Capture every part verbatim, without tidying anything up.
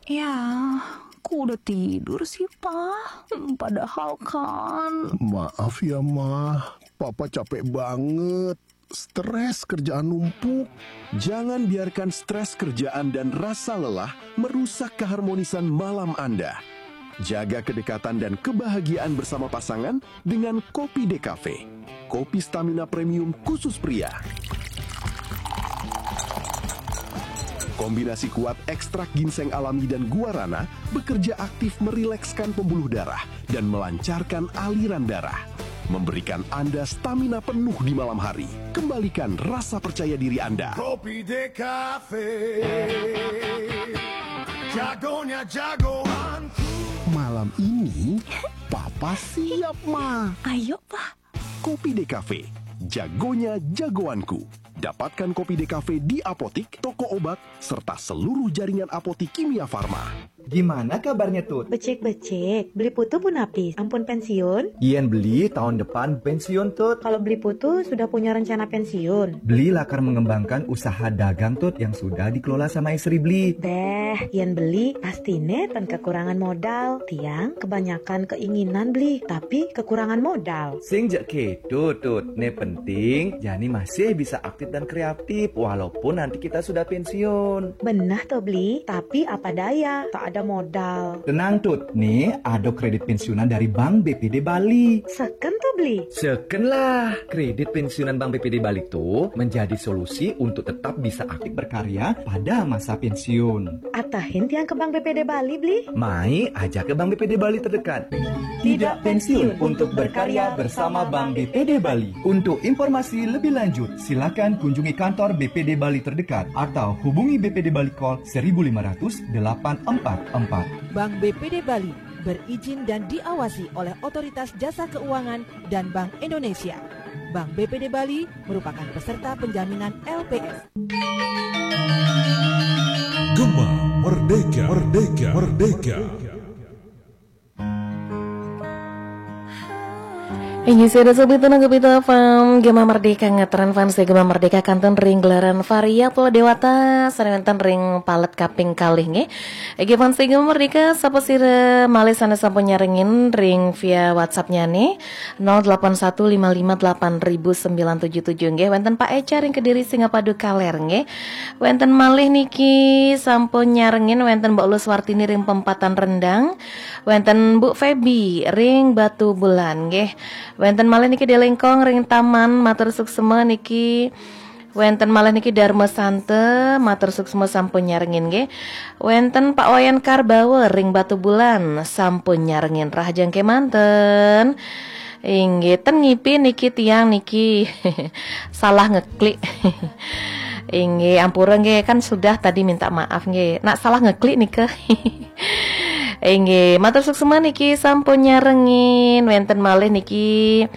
Ya, kok udah tidur sih, Pa? Hmm, padahal kan. Maaf ya, Ma. Papa capek banget. Stres kerjaan numpuk. Jangan biarkan stres kerjaan dan rasa lelah merusak keharmonisan malam Anda. Jaga kedekatan dan kebahagiaan bersama pasangan dengan Kopi Decafe. Kopi stamina premium khusus pria. Kombinasi kuat ekstrak ginseng alami dan guarana bekerja aktif merilekskan pembuluh darah dan melancarkan aliran darah. Memberikan Anda stamina penuh di malam hari. Kembalikan rasa percaya diri Anda. Kopi Decafe, jagonya jagoanku. Malam ini, Papa siap, Ma. Ayo, Pa. Kopi Decafe, jagonya jagoanku. Dapatkan Kopi Decafe di apotik, toko obat, serta seluruh jaringan apotik Kimia Farma. Gimana kabarnya, Tut? Becik-becik, Beli Putu pun habis. Ampun pensiun? Yen Beli tahun depan pensiun, Tut. Kalau Beli Putu sudah punya rencana pensiun? Beli lakar mengembangkan usaha dagang, Tut, yang sudah dikelola sama istri Beli. Deh, yen Beli pasti neten kekurangan modal. Tiang kebanyakan keinginan Beli, tapi kekurangan modal. Sing jek gitu, Tut. Ne penting, jani masih bisa aktif dan kreatif walaupun nanti kita sudah pensiun. Benah toh Beli, tapi apa daya, tak ada modal. Tenang, Tut. Nih, ada kredit pensiunan dari Bank B P D Bali. Seken toh Beli? Seken lah, kredit pensiunan Bank B P D Bali itu menjadi solusi untuk tetap bisa aktif berkarya pada masa pensiun. Atahin tiang ke Bank B P D Bali Beli? Mai aja ke Bank B P D Bali terdekat. Tidak pensiun untuk berkarya bersama Bank B P D Bali. Untuk informasi lebih lanjut, silakan kunjungi kantor B P D Bali terdekat atau hubungi B P D Bali Call seribu lima ratus delapan empat empat. Bank B P D Bali berizin dan diawasi oleh Otoritas Jasa Keuangan dan Bank Indonesia. Bank B P D Bali merupakan peserta penjaminan L P S. Gema Merdeka, Merdeka, Merdeka. Inggih, sada sobat tenang Gepita F M, Gema Merdeka ngetren fans Gema Merdeka kantun ring gelaran Variabel Dewata, sane wenten ring palet kaping kalih nggih. Inggih fans Gema Merdeka, sapa sira malih sane sampun nyarengin ring via WhatsApp-nyane nol delapan satu lima lima delapan ribu sembilan tujuh tujuh nggih. Wenten Pak Eca ring Kediri Singapadu Kaler nggih. Wenten malih niki sampun nyarengin, wenten Mbok Lus Wartini ring Pempatan Rendang. Wenten Bu Feby ring Batu Bulan nggih. Wenten malih niki Delengkong ring Taman, matur suksma niki. Wenten malih niki Dharma Santa, matur suksma sampun nyarengin nggih. Wenten Pak Wayan Karbawa ring Batu Bulan, sampun nyarengin, rahajeng kemanten. Inggih, ten ngipi niki tiang niki salah ngeklik. Inggih, ampura nggih, kan sudah tadi minta maaf nggih. Nak salah ngeklik nika. Inggih, matur suksma niki sampun nyarengin. Wenten malih niki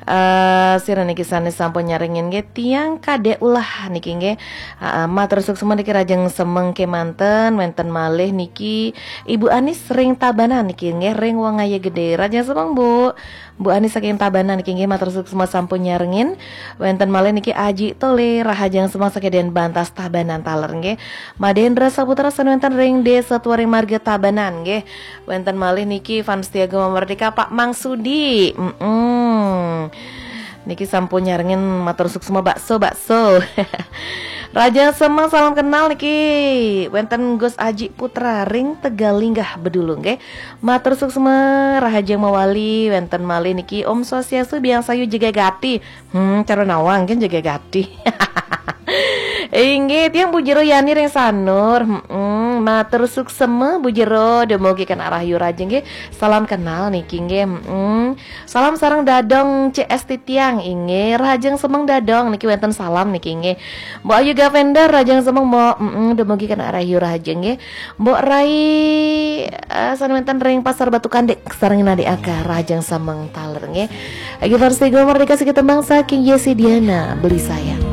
eh sira niki sane sampun nyarengin nggih, tiang Kadek Ulah niki nggih. Heeh, matur suksma niki, rahajeng semeng kemanten. Wenten malih niki Ibu Anis ring Tabanan niki nggih, ring Wong Aye Gede. Rahajeng semeng, Bu. Bu Anis saking Tabanan niki nggih, matur suksma sampun nyarengin. Wenten malih niki Aji Tole, rahajeng semeng saking Denbantas Tabanan taler nggih. Madendra Saputra sane wenten ring Desa Tuaring Marga Tabanan nggih. Wenten malih niki fans setia Gema Merdeka Pak Mangsudi. Mm-mm. Niki sampun nyarengin, matur suksma bakso, bakso. Rahajeng semeng, salam kenal niki. Wenten Gus Aji Putra ring Tegalinggah Bedulu nggih. Matur suksma, rahajeng mawali. Wenten malih niki Om Swastiastu, Biang Sayu Jegegati. Hmm, cara nawang kan Jegegati. Inggih, tiang Bu Jero Yani ring Sanur. Hmm, matur suksma Bu Jero, dumugi kenak rahayu rahajeng nggih. Salam kenal niki nggih. Hmm. Salam sareng Dadong C S T tiang inggih. Rahajeng semeng Dadong niki, wenten salam niki nggih. Mbok Ayu Gavender, rahajeng semeng Mbok. Mm-mm, dumugi kenak rahayu rahajeng nggih. Mbok Rai eh, sane wenten ring Pasar Batu Kandek sareng Nade Aka, rahajeng semeng taler nggih. Lagi versi Gema Merdeka, siki tembang saking Yesi Diana, Beli Sayang.